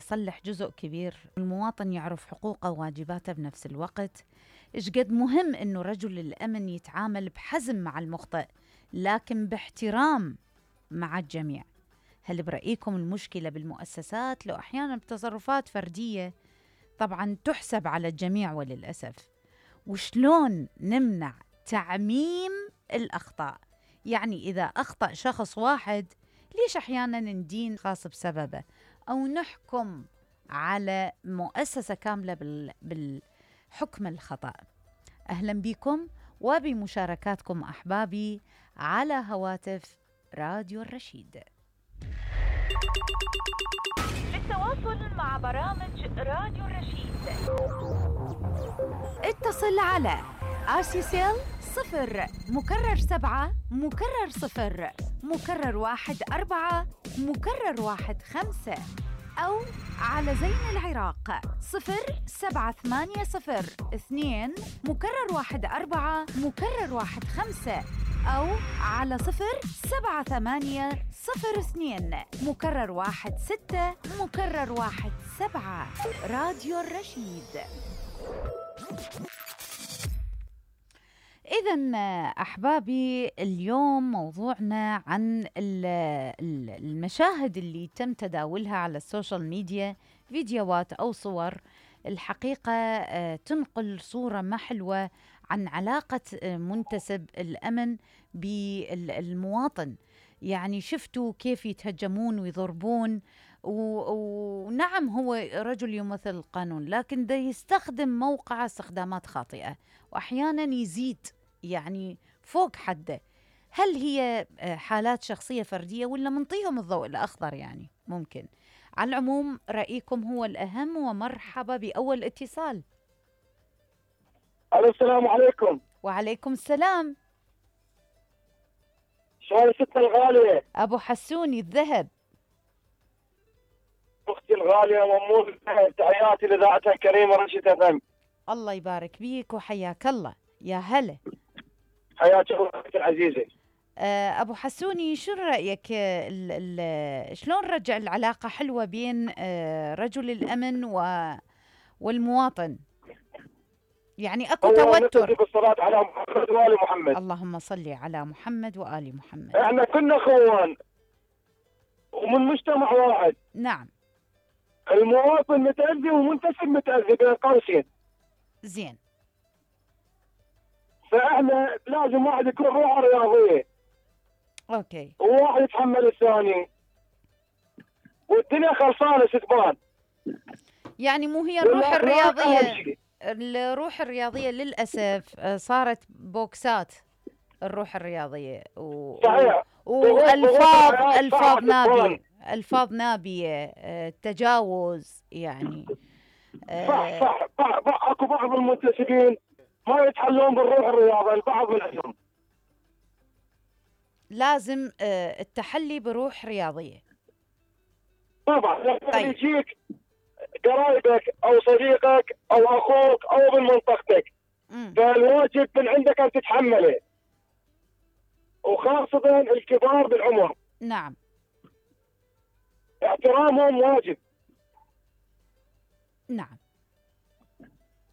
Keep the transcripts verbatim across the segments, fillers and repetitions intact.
يصلح جزء كبير، المواطن يعرف حقوقه وواجباته بنفس الوقت. إيش قد مهم إنه رجل الأمن يتعامل بحزم مع المخطئ لكن باحترام مع الجميع. هل برأيكم المشكلة بالمؤسسات لو أحيانا بتصرفات فردية طبعا تحسب على الجميع وللأسف؟ وشلون نمنع تعميم الأخطاء؟ يعني إذا أخطأ شخص واحد ليش أحيانا ندين خاص بسببه أو نحكم على مؤسسة كاملة بالحكم الخطأ؟ أهلا بكم وبمشاركاتكم أحبابي على هواتف راديو الرشيد. للتواصل مع برامج راديو الرشيد اتصل على آسيسيل صفر مكرر سبعة مكرر صفر مكرر واحد أربعة مكرر واحد خمسة، أو على زين العراق صفر سبعة ثمانية صفر اثنين مكرر واحد أربعة مكرر واحد خمسة، أو على صفر سبعة ثمانية صفر اثنين مكرر واحد ستة مكرر واحد سبعة. راديو الرشيد. إذن أحبابي اليوم موضوعنا عن المشاهد اللي تم تداولها على السوشيال ميديا، فيديوهات أو صور الحقيقة تنقل صورة ما حلوة عن علاقة منتسب الأمن بالمواطن. يعني شفتوا كيف يتهجمون ويضربون، ونعم هو رجل يمثل القانون لكن ده يستخدم موقع استخدامات خاطئة وأحيانا يزيد يعني فوق حده. هل هي حالات شخصية فردية ولا منطيهم الضوء الأخضر؟ يعني ممكن. على العموم رأيكم هو الأهم، ومرحبا بأول اتصال. السلام عليكم. وعليكم السلام. شلون ستنا الغالية؟ أبو حسوني الذهب. أختي الغالية ممنون الذهب، تحياتي لإذاعتها الكريمة رشيد اف ام. الله يبارك بيك وحياك الله. يا هلا. حياك الله أختي العزيزة. أبو حسوني شو رأيك ال ال شلون رجع العلاقة حلوة بين رجل الأمن و والمواطن؟ يعني أكو توتر. بالصلاة على محمد وآل محمد. اللهم صل على محمد وآل محمد. احنا كنا اخوان ومن مجتمع واحد. نعم. المواطن متأذي ومنتسب متأذي بين قوسين. زين. فاحنا لازم واحد يكون روحه رياضية. اوكي. وواحد يتحمل الثاني. والدنيا خلصانة ستبان. يعني مو هي الروح الرياضية، الروح الرياضية للأسف صارت بوكسات الروح الرياضية و... صحيح. والفاظ الفاظ نابية الفاظ نابية تجاوز يعني. صح صح. اكو بعض المنتسبين ما يتحلون بالروح الرياضية، البعض منهم. لازم التحلي بروح رياضية. طبعا. طيب. يجيك قرايبك او صديقك او اخوك او من منطقتك، فالواجب من عندك ان تتحمله، وخاصة الكبار بالعمر. نعم. احترامهم واجب. نعم.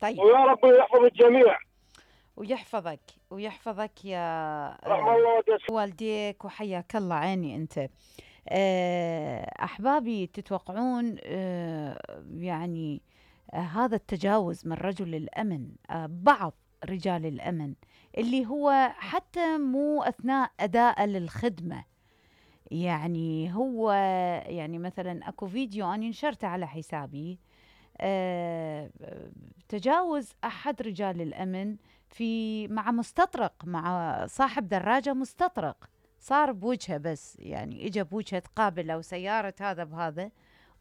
طيب. ويا رب يحفظ الجميع ويحفظك ويحفظك يا رحم الله والديك وحياك الله. عيني انت. أحبابي تتوقعون يعني هذا التجاوز من رجل الأمن، بعض رجال الأمن اللي هو حتى مو أثناء أداء للخدمة، يعني هو يعني مثلا أكو فيديو أنا نشرته على حسابي، تجاوز أحد رجال الأمن في مع مستطرق، مع صاحب دراجة مستطرق، صار بوجهه بس يعني اجى بوجهه تقابله وسيارة هذا بهذا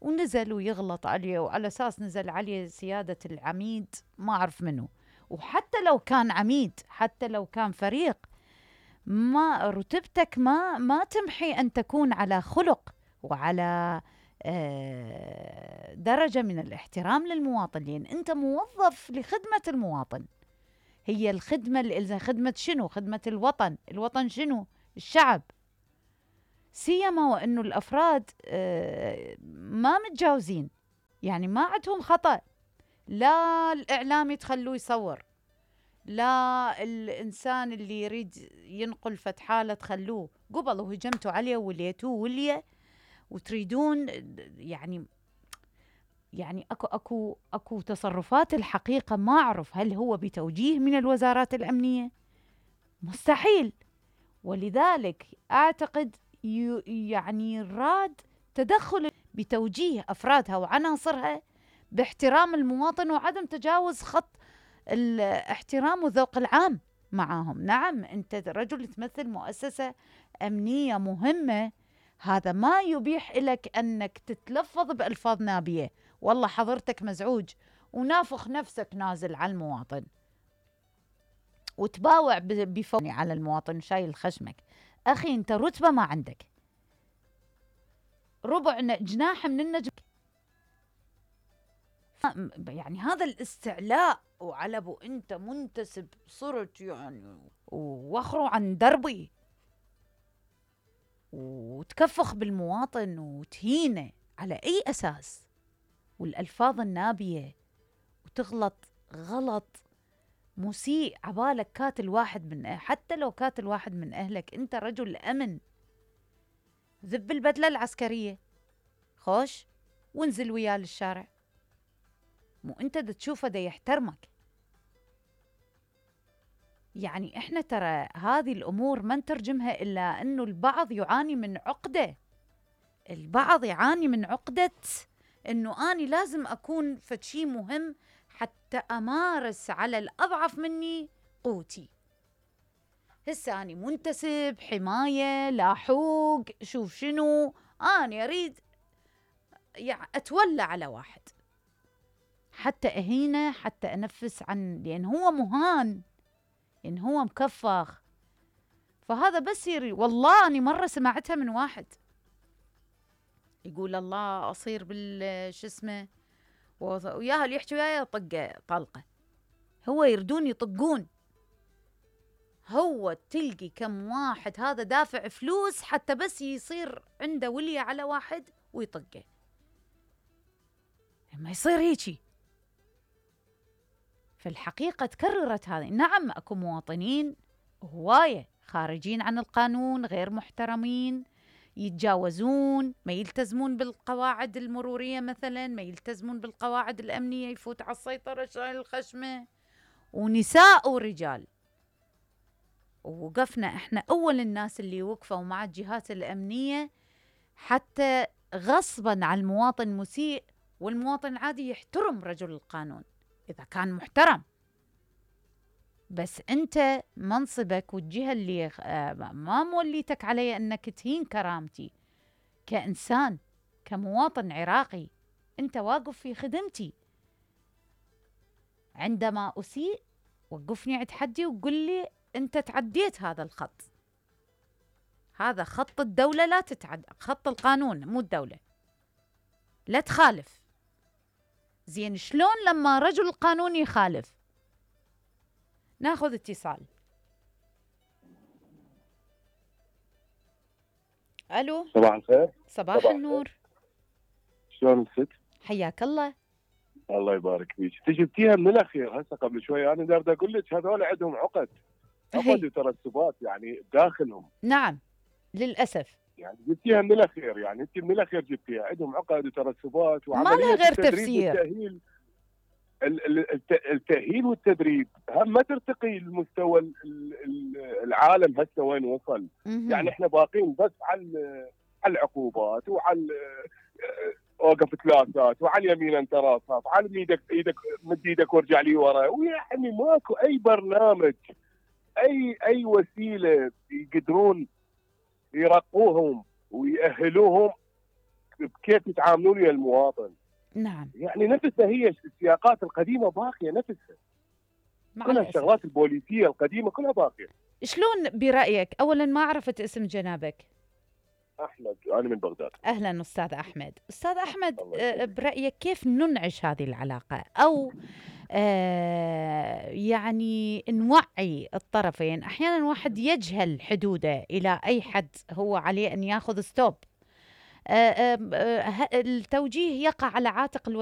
ونزل ويغلط عليه، وعلى اساس نزل عليه سيادة العميد ما اعرف منه. وحتى لو كان عميد، حتى لو كان فريق، ما رتبتك ما ما تمحي ان تكون على خلق وعلى درجة من الاحترام للمواطن، لان انت موظف لخدمة المواطن. هي الخدمة اللي خدمة شنو؟ خدمة الوطن. الوطن شنو؟ الشعب. سيما وأنه الأفراد ما متجاوزين، يعني ما عندهم خطأ، لا الإعلامي تخلوه يصور، لا الإنسان اللي يريد ينقل فد حالة تخلوه، قبل وهجمتوا عليه وليتوه وليه وتريدون يعني يعني اكو اكو اكو تصرفات الحقيقة ما اعرف هل هو بتوجيه من الوزارات الأمنية؟ مستحيل. ولذلك اعتقد يعني راد تدخل بتوجيه افرادها وعناصرها باحترام المواطن وعدم تجاوز خط الاحترام والذوق العام معاهم. نعم انت رجل تمثل مؤسسة أمنية مهمة، هذا ما يبيح لك انك تتلفظ بألفاظ نابية، والله حضرتك مزعوج ونافخ نفسك نازل على المواطن وتباوع بفوني على المواطن شايل خشمك. أخي أنت رتبة ما عندك، ربع جناح من النجم، يعني هذا الاستعلاء وعلى ابو أنت منتسب صرت يعني واخروا عن دربي وتكفخ بالمواطن وتهينه على أي أساس؟ والألفاظ النابية وتغلط غلط مسيء عبالك كاتل واحد من أهل. حتى لو كاتل واحد من أهلك أنت رجل أمن، ذب البدلة العسكرية خوش وانزل وياه للشارع، مو أنت دا تشوفه دا يحترمك. يعني إحنا ترى هذه الأمور ما نترجمها إلا أنه البعض يعاني من عقدة، البعض يعاني من عقدة أنه أنا لازم أكون فد شي مهم حتى أمارس على الأضعف مني قوتي. هسه أنا منتسب حماية لاحوق شوف شنو، أنا أريد يعني أتولى على واحد حتى أهينه حتى أنفس عن، لأن هو مهان، لأن هو مكفخ. فهذا بس يري. والله أنا مرة سمعتها من واحد يقول الله أصير بالش اسمه وياها اللي يحكي وياي طقه طلقه، هو يردون يطقون. هو تلقي كم واحد هذا دافع فلوس حتى بس يصير عنده ولية على واحد ويطقه، ما يصير هيجي. فالحقيقة تكررت هذه. نعم أكو مواطنين هواية خارجين عن القانون، غير محترمين، يتجاوزون، ما يلتزمون بالقواعد المرورية مثلا، ما يلتزمون بالقواعد الأمنية، يفوت على السيطرة شايل الخشمة، ونساء ورجال. ووقفنا احنا أول الناس اللي وقفوا مع الجهات الأمنية حتى غصبا على المواطن مسيء، والمواطن عادي يحترم رجل القانون إذا كان محترم. بس أنت منصبك والجهة اللي ما موليتك علي أنك تهين كرامتي كإنسان كمواطن عراقي، أنت واقف في خدمتي. عندما أسيء وقفني عند حدي وقل لي أنت تعديت هذا الخط، هذا خط الدولة لا تتعدى، خط القانون مو الدولة، لا تخالف. زين شلون لما رجل القانون يخالف؟ ناخذ اتصال. الو صباح الخير. صباح, صباح النور. شلون الست؟ حياك الله. الله يبارك فيك. انت جبتيها من الاخير هسه قبل شوي، انا دارد اقول لك هذول عندهم عقد عقد وترسبات يعني داخلهم. نعم للاسف. يعني جبتيها من الاخير، يعني انت من الاخير جبتيها عندهم عقد وترسبات وعمليه ما لها غير تفسير. والتأهيل التأهيل والتدريب هم ما ترتقي لمستوى العالم هسه وين وصل. يعني احنا باقين بس على على العقوبات وعلى اوقف ثلاثات وعلى اليمين انت راسها وعلى ايدك ايدك مد ايدك وارجع لي ورا، ويعني ماكو اي برنامج اي اي وسيله يقدرون يرقوهم ويأهلوهم بكيف يتعاملون ويا المواطن. نعم. يعني نفسها هي السياقات القديمه باقيه نفسها. كل الشغلات البوليسيه القديمه كلها باقيه. شلون برايك؟ اولا ما عرفت اسم جنابك. احمد، انا من بغداد. اهلا استاذ احمد. استاذ احمد برايك كيف ننعش هذه العلاقه، او آه يعني نوعي الطرفين؟ احيانا واحد يجهل حدوده الى اي حد هو عليه ان ياخذ ستوب. آه آه التوجيه يقع على عاتق الوزير